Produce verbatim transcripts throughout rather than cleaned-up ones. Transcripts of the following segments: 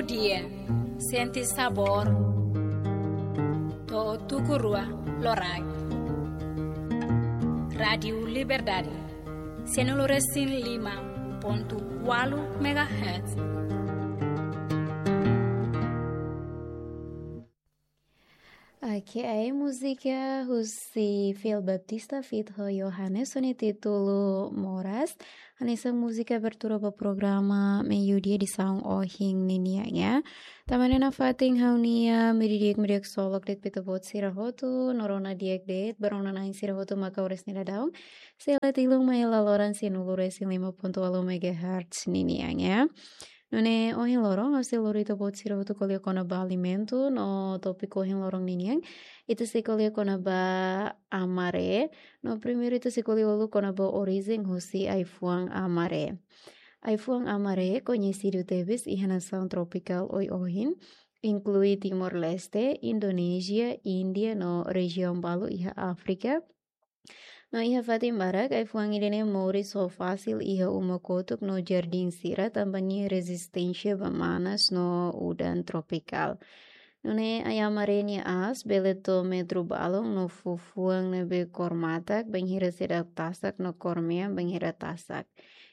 Dia, sente sabór. To'o tuku rua loraik. Rádiu Liberdade, sianulu resin lima pontu ualu megahertz. Oke, ai múzika husi Phil Baptista feat ho Johannes ho nia títulu Moras. Hanesan múzika abertura ba programa Meiudia edisaun ohin ninian, ya. Tanba ne'e nafatin ha'u-nia meiudia di'ak, meiudia di'ak ksolok de'it ba ita-boot sira hotu, no rona di'ak de'it ba rona-na'in sira hotu mak oras ne'e daudaun sei la tilun mai hela loron sianulu resin lima pontu ualu megahertz ninian, ya. Nune'e ohin loron ha'u sei lori ita-boot sira hotu ko'alia kona-ba alimentu, no tópiku ohin loron ninian ita sei ko'alia kona-ba amaré. No primeiru ita sei ko'alia uluk kona-ba orijen husi ai-fuan amaré. Ai-fuan amaré koñesidu tebes iha nasaun tropikál oioin, inklui Timor-Leste, Indonézia, Índia no rejiaun balu iha Áfrika. No iha fatin barak ai-fuan ida-ne'e moris ho fasil iha uma kotuk no jardín sira tanba nia rezisténsia ba manas no udan tropikál. Nune'e ai amaré nia aas bele to'o metru balun no fó fuan ne'ebé kór matak bainhira seidauk tasak no kór mean bainhira tasak.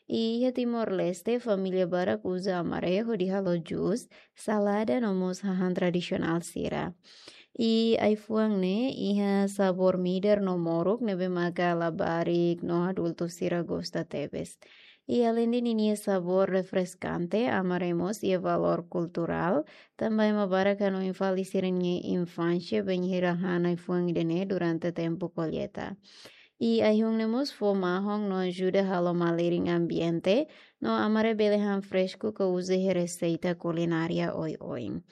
I iha Timor-Leste, família barak uza amaré hodi halo jus, salada no mós hahán tradisionál sira. I ai-fuan ne'e iha sabór midar no moruk ne'ebé maka labarik no adultu sira gosta tebes. I aleinde ninia sabór refreskante, amaré mós iha valór kulturál, tanba ema barak hanoin fali sira-nia infánsia bainhira han ai-fuan ida-ne'e durante tempu kolleita. I ai-hun ne'e mós fó mahon no ajuda halo malirin ambiente, no amaré bele han fresku ka uza iha reseita kulinária oioin.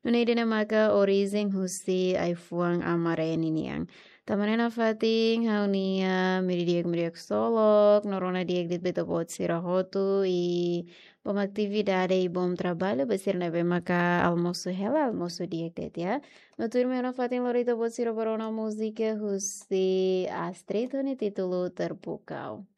Nune'e ida-ne'e maka orijen husi ai-fuan amaré ninian. Tanba ne'e nafatin ha'u-nia meiudia di'ak, meiudia di'ak ksolok, no rona di'ak de'it ba ita-boot sira hotu, i bom atividade i bom traballu ba sira ne'ebé maka almosu hela, almosu di'ak de'it, ya. No tuirmai ha'u nafatin lori ita-boot sira ba rona múzika husi Astrid ho nia títulu Terpukau.